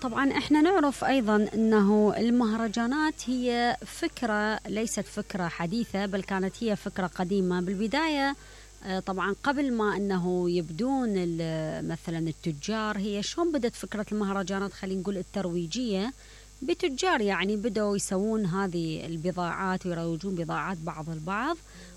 طبعا احنا نعرف ايضا انه المهرجانات هي فكرة ليست فكرة حديثة، بل كانت هي فكرة قديمة بالبداية. طبعا قبل ما انه يبدون مثلا التجار، هي شلون بدت فكرة المهرجانات؟ خلينا نقول الترويجية بتجار، يعني بدأوا يسوون هذه البضاعات ويروجون بضاعات بعض البعض،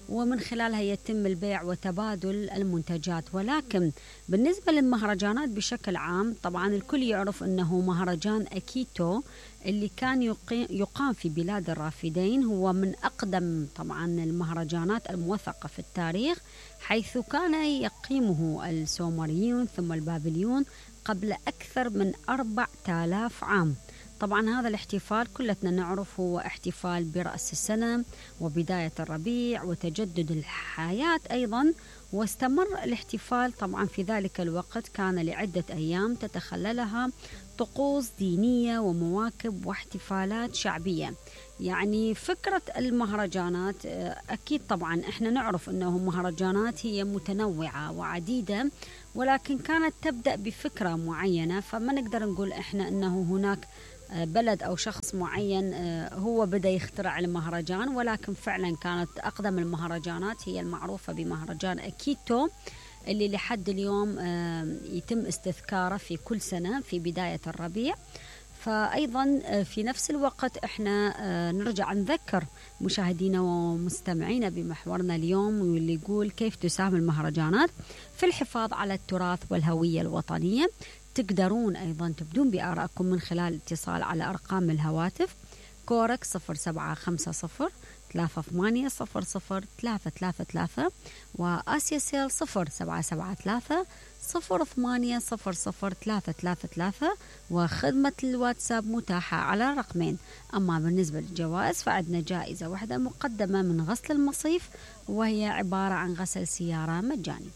ومن خلالها يتم البيع وتبادل المنتجات. ولكن بالنسبة للمهرجانات بشكل عام، طبعا الكل يعرف أنه مهرجان أكيتو اللي كان يقام في بلاد الرافدين هو من أقدم طبعا المهرجانات الموثقة في التاريخ، حيث كان يقيمه السومريون ثم البابليون قبل أكثر من 4000 عام. طبعا هذا الاحتفال كلتنا نعرف هو احتفال برأس السنة وبداية الربيع وتجدد الحياة أيضا. واستمر الاحتفال طبعا في ذلك الوقت، كان لعدة أيام تتخللها طقوس دينية ومواكب واحتفالات شعبية. يعني فكرة المهرجانات أكيد طبعا احنا نعرف أنه مهرجانات هي متنوعة وعديدة، ولكن كانت تبدأ بفكرة معينة. فما نقدر نقول احنا أنه هناك بلد أو شخص معين هو بدأ يخترع المهرجان، ولكن فعلا كانت أقدم المهرجانات هي المعروفة بمهرجان أكيتو، اللي لحد اليوم يتم استذكاره في كل سنة في بداية الربيع. فأيضا في نفس الوقت احنا نرجع نذكر مشاهدينا ومستمعينا بمحورنا اليوم، واللي يقول كيف تساهم المهرجانات في الحفاظ على التراث والهوية الوطنية. تقدرون أيضا تبدون بآرائكم من خلال الاتصال على أرقام الهواتف كورك 0750 3800 وآسيا سيل 0773 0800 وخدمة الواتساب متاحة على رقمين. أما بالنسبة للجوائز فعندنا جائزة واحدة مقدمة من غسل المصيف، وهي عبارة عن غسل سيارة مجاني.